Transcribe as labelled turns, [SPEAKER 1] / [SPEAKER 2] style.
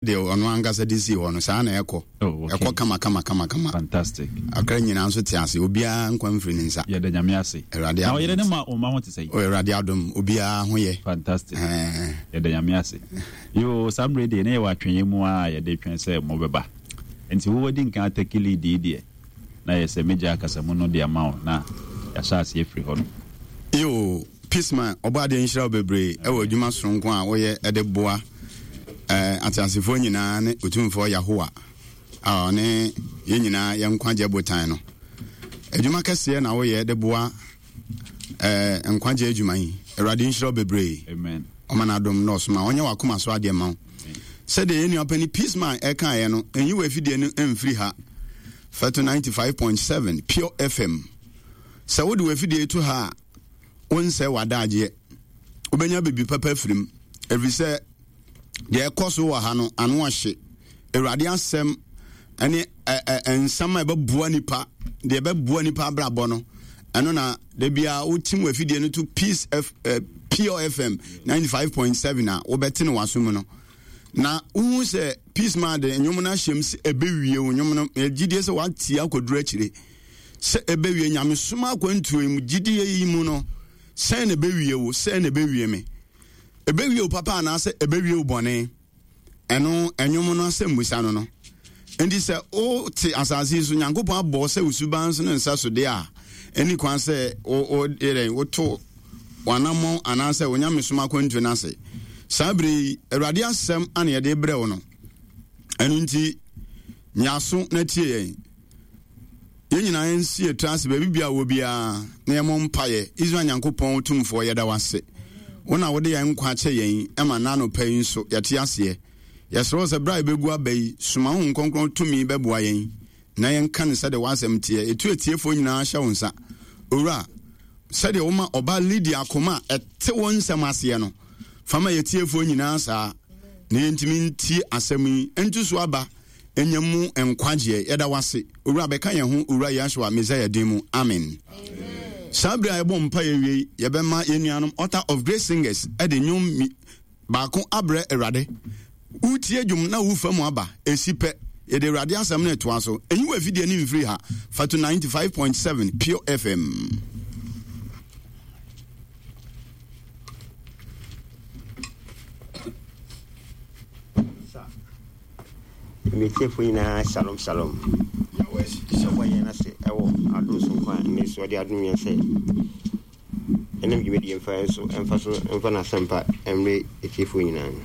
[SPEAKER 1] Deɛ ɔno ankasa de sii hɔ no, saa na ɛkɔ.
[SPEAKER 2] Oh, okay.
[SPEAKER 1] Ɛkɔ kama kama kama kama.
[SPEAKER 2] Fantastic.
[SPEAKER 1] Akra nyinaa nso te ase. Obiara nkwa mfiri ne nsa.
[SPEAKER 2] Yɛda Nyame ase.
[SPEAKER 1] Awurade
[SPEAKER 2] Na
[SPEAKER 1] adom.
[SPEAKER 2] ɔyere ne ma ɔma ho te sɛ.
[SPEAKER 1] Oh, Awurade adom. Obiara ho yɛ.
[SPEAKER 2] Fantastic.
[SPEAKER 1] Eh.
[SPEAKER 2] Yɛda Nyame ase. Yoo, saa mmerɛ deɛ na yɛwɔ atwɛnyɛ mu a yɛde twɛn sɛ mobɛba. Nti wo wadi nkan atake lead yi deɛ, na yɛ sɛ mɛgya akasamu no de ama wo na yɛahyɛ aseɛ afiri hɔ nom.
[SPEAKER 1] Yoo. Peaceman, Ɔbɔadeɛ nhyira wo bebree wɔ adwuma soronko a woyɛ de boa ateasefoɔ nyinaa ne Otumfoɔ Yahowa a ɔne yɛn nyinaa yɛn nkwagyeɛ botan no. Adwuma kɛseɛ na woyɛ de boa nkwagyeɛ adwuma yi. Awurade nhyira wo bebree.
[SPEAKER 2] Amen.
[SPEAKER 1] Ɔma n'adom na ɔsoma ɔnyɛ w'akoma so adeɛ ma wo. Sɛdeɛ yɛn nua panin Peaceman ɛkaeɛ no, nyi w'afidie no mfiri ha. Fɛto 95.7 Pure FM. Sɛ wode w'afidie to ha a, wonsɛe w'adagyeɛ. Wobɛnya biribi papa afiri mu, ɛfiri sɛ deɛ ɛkɔ so wɔ ha no ano ɔhye. Awurade asɛm ne nsɛm a ɛbɛboa nipa, deɛ ɛbɛboa nipa abrabɔ no, ɛno na da biara wotim w'afidie no to Peace F, eh, Pure FM 95.7 a wobɛte no w'aso mu no. Na wohu sɛ Peace Man de nnwom no ahyɛm sɛ ɛbɛwie wo nnwom no, gyidie sɛ woatie akɔduru akyire. Sɛ ɛbɛwie nyamesom akwantuo yi mu gyidie yi mu no, sɛn na ɛbɛwie wo, sɛn na ɛbɛwie me? Ɛbɛwie wo papa anaasɛ ɛbɛwie wo bɔne? Ɛno ɛnwom no asɛmmusa no no. Nti sɛ wote asase yi so, Nyankopɔn abɔ sɛ wo suban so ne nsa so deɛ a, ɛni kwan sɛ woto w'anammɔn anaasɛ wo nyamesom akwantuo no ase. Saa berɛ yi, Awurade asɛm ana yɛde brɛ wo no. Ɛno nti, nya aso na tie yɛn. Yɛn nyinaa yɛnsi yɛn tiri ase baabi biara wɔ biara na yɛmmɔ mpaeɛ. Israel Nyankopɔn Tumfoɔ, yɛda wo ase. Wo na wode yɛn nkwa akyɛ yɛn ma nna anɔpa yi nso yɛte aseɛ. Yɛsrɛ wo sɛ berɛ a yɛbɛgu aba yi, soma Honhom Kronkron tumi bɛboa yɛn na yɛnka no sɛdeɛ w'asɛm teɛ. Yɛtu atiefoɔ nyinaa hyɛ wo nsa. Owura, sɛdeɛ woma ɔbaa Lydia akoma a ɛte wo nsɛm aseɛ no, fa ma yɛtiefoɔ nyinaa saa na yɛntumi ntie asɛm yi nto so aba nya mu nkwagyeɛ. Yɛda wo ase, Owura, bɛka yɛn ho, Owura Yahshua Messiah din mu. Amen. Saa bere a yɛbɔ mpa yɛ wie, yɛbɛma yɛn nuanom Altar of Grace Singers de nnwom baako abrɛ Awurade. Wotie dwom na wofa mu aba, ɛsi pɛ. Yɛde Awurade asɛm no ɛtoa so. Ɛnyi wɔ afidie no mfiri ha. Fatu 95.7 Pure FM.
[SPEAKER 3] M'atiefo nyinaa shalom shalom. Yɛbɔ yɛn ase wɔ adom sononko a nnɛ so ɔde adom yɛn sɛ ɛnam dwumadie mfa yɛn so mfa so mfa n'asɛmpa mmrɛ atiefoɔ nyinaa no.